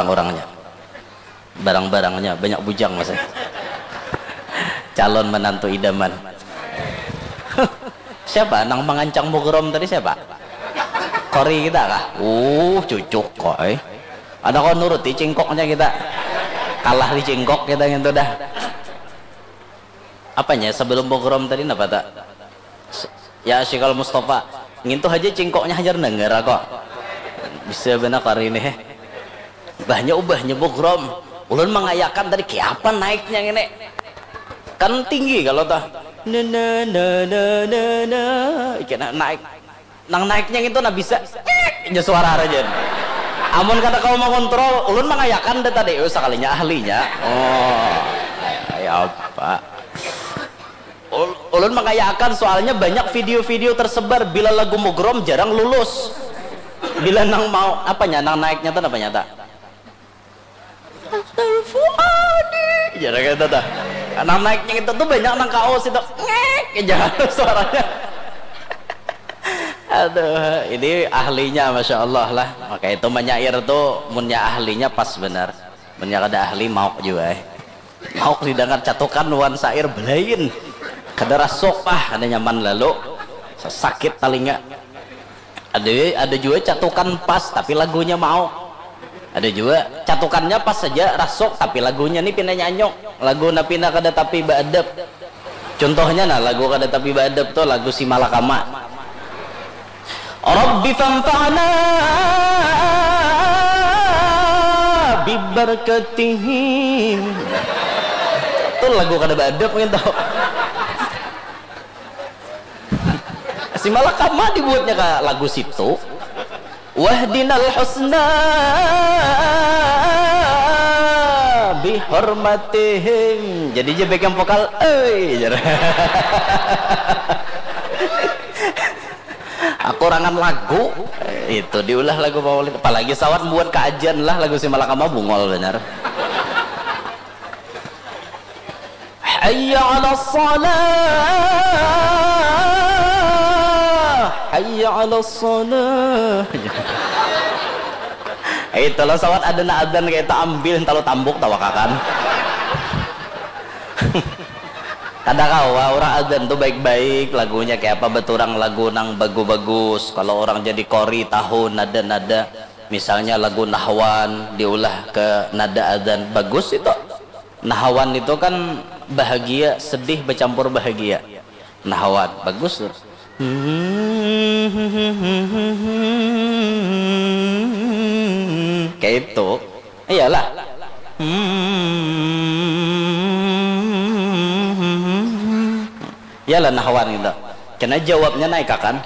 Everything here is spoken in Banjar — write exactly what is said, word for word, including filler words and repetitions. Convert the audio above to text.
Orangnya, barang-barangnya banyak bujang masih. Calon menantu idaman. Siapa nang mangancang mugrom tadi, siapa? Kori kita kah? Uh, cucuk kok, eh. Ada kau nuruti cingkoknya kita. Kalah di cingkok kita gitu dah. Apanya sebelum mugrom tadi napa tak? Ya, Syikal Mustafa, ngintu haja cingkoknya hajar dengar kok. Bisa benar kari ini, heh. Bahnya ubahnya bugrom. Ulun mangayakan tadi, kiapa naiknya ini? Kan tinggi kalau tah. Na, na, na, na, na, na. Iki na-, naik. Nang naiknya itu na bisa. Aja suara aja. Amun kada kau mengontrol, ulun mangayakan deh tadi. Oh, sekalinya ahlinya. Oh, ya apa? Ul-, ulun mangayakan, soalnya banyak video-video tersebar bila lagu mugrom jarang lulus. Bila nang mau, apanya, nang naiknya tuh apa nyata? Asal Fuadi. Jarang kata dah. Nang naiknya itu tuh banyak nang kaos itu. Ngek aja suaranya. Aduh, ini ahlinya, masya Allah lah. Maka itu menyair tuh, munnya ahlinya pas benar. Munnya kada ahli, mauk juga, eh. Mauk didengar catukan wan sair belain. Kada rasuk, ah, kada nyaman lalu. Sakit talinga. Ada, ada juga catukan pas, tapi lagunya mauk. Ada juga catukannya pas saja, rasuk, tapi lagunya nih pina nyanyuk. Lagu na pina kada tapi baadab. Contohnya nah, lagu kada tapi baadab tuh lagu si Malakama. Rabbi fanfa'na bibarakatihim. Tuh lagu kada baadab gitu. Si Malakama dibuatnya ke lagu situ. Wahdinal husna bihormatihim. Jadi je pegang vokal, eh, jar. Aku rangan lagu itu diulah lagu maulid. Apalagi sawat buat kajian lah lagu si Malakama bungol benar. Hayya 'alas shalah. Hayya 'alas shalah. Itulah sawat ada nak adzan kayak itu ambil talu tambuk tawakakan. Kada kawa orang adzan tuh baik-baik lagunya kayak apa beturang lagu nang bagus-bagus. Kalau orang jadi kori tahu nada-nada misalnya lagu nahwan diulah ke nada adzan bagus itu. Nahawan itu kan bahagia, sedih bercampur bahagia. Nahawan, bagus tuh. Kayak itu. Iyalah. Iyalah nahawan gitu. Kena jawabnya naik akan.